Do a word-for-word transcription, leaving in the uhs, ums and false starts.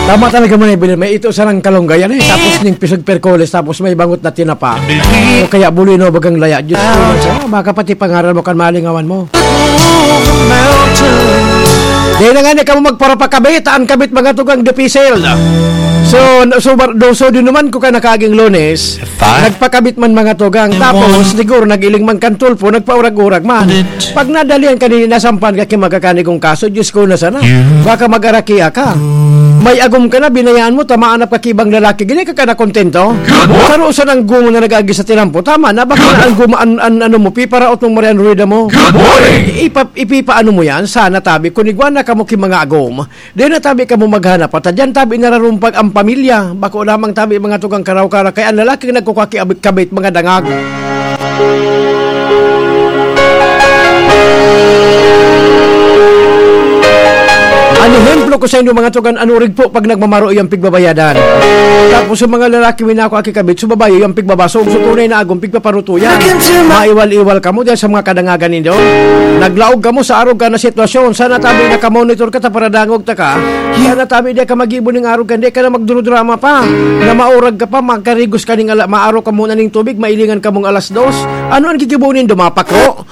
Tama talaga man, Evelyn. May ito sarang kalunggay, ano eh. Tapos ning pisag perkoles, tapos may bangot na tinapa. O kaya bulino, bagang laya. Diyos ko, man siya. Baka pati pangaral mo kan malingawan mo. Dahil na nga ni kamo magparapakabit, ang kabit mga tugang depisil. So, so, so, din naman ko ka nakaging Lunes, nagpakabit man mga tugang. Tapos, siguro, nag-iling man kan tulpo, nagpaurag-urag man. Pag nadalian ka ni nasampan ka ki magkakanigong kaso, Diyos ko na sana. Baka mag-arakia ka. May agom ka na, binayaan mo, tamaan na ka ki ibang lalaki. Gini ka ka na kontento? Saro sa nang gumo na nag-agi sa tinampo. Tama na, baka na ang gumo, an, an, ano mo, piparaot mong Marian Rueda mo. Ipa, ipipaano mo yan? Sana tabi, kung igwa na kamo ki mga agom, di na tabi kamo maghanap. At dyan tabi nararumpag ang pamilya. Bako lamang tabi mga tugang karaw-kara. Kaya ang lalaki nagkukaki-kabit mga dangag. An ehemplo ko sa inyo, mga tugang, an orig po pag nagmamaro, iyang pigbabayadan. Tapos sa mga lalaki, minako aki kabit, sa babae, iyang pigbabasog, sa tunay na agom, pigpaparutuyan. Maiwal-iwal kamo diyan sa mga kadangagan ninyo. Naglaog kamo sa arog ka na sitwasyon. Sana tabi nakamonitor ka, ta paradangog ta ka. Sana tabi di ka mag-ibo ning arog ka, di ka na magdurudrama pa. Na maurag ka pa, magkarigos ka ning ala, maaro ka muna ning tubig, mailingan ka mong alas dos. Ano ang gigibo nindo, mapakro?